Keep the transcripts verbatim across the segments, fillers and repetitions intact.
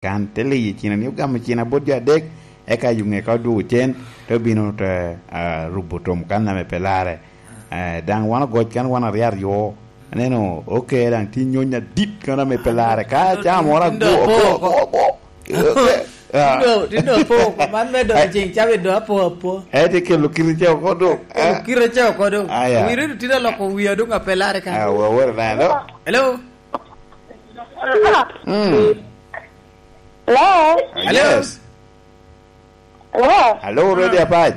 Kan te liyo cina ni ogamo cina bot jo adek, eka yuŋe ka odwogo cen, te obino te, ah, rubo tom kan ame pe larre. Eh, daŋ wan ogoc kan wan aryo aryo. Aneno, oke, daŋ tye nyony adit kan ame pe larre. Ka caa moro tin dong ago, apo ago, oko. Ago, ago. Oke. Ah. Tin dong, tin dong apo oko. Man me doko ceng cabe dong apo apo. Eh, te kelo kite ca oko dong. Kelo kite ca oko dong. Ah, ya. Wiri dong tye aloko wia dong ape larre kan. Ah, wa, wa, na, no. Hello? Mm. Hello? Ah, yes. Hello? Hello, Radio Apac.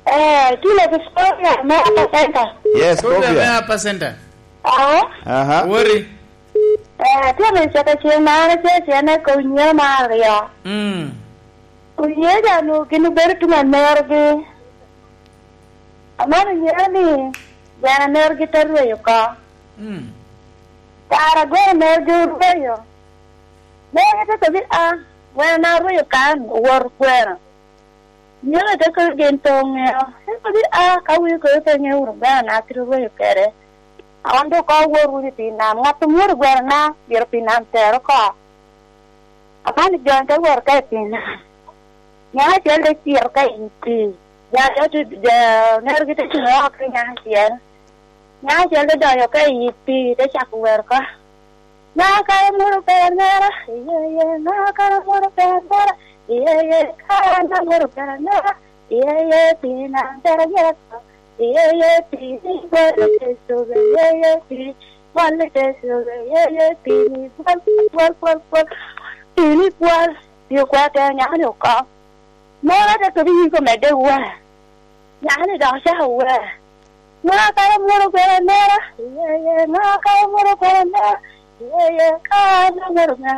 Eh, kile Victoria, me Upper Center. Yes, Victoria, Victoria. Me Upper Center. Ah? Aha. Wori. Eh, tye me caka cen mare, tye cen e kom nyo mare aryo. Mm. Onyo ja nu gin obedo tuŋ anerogi. Amano nyero ni gweno anerogi te rweyo oko. Mm. Kara gweno anerogi orweyo. Anerogi te kobi, "A, gweno na orweyo kan, owot gweno." Nyero te kobi gin pe oŋeo. Te kobi, "A, ka wii kobi pe ŋeo wunu gweno na kite orweyo kede." An doŋ ka awot wunu i pii nam, ŋat omwodo gweno na, myero pii nam ter oko. Aman jo te wot ka i pii nam. Nyaŋ acel te cito ka i pii. Jo aryo te, jo onerogi te cuŋ oko i nyaŋ acel. Nyaŋ acel te donyo ka i pii, te cako wer oko. Ŋa kara moro pera nera, iye, iye, ŋa kara moro pera nera, iye, iye, kara moro pera nera, iye, iye, pii nam pera nera, iye, iye, pii ni bwolo te coge, iye, iye, pii bwolo te coge, iye, iye, pii ni bwol, bwol, bwol, bwol, pii ni bwol, pii okwero tero nyaŋ ni oko. Moro te kodi yiko medde wer. Nyaŋ ni dok ocako wer. Ŋa kara moro pera nera, iye, iye, ŋa kara moro pera nera, iye, iye, ka an amoro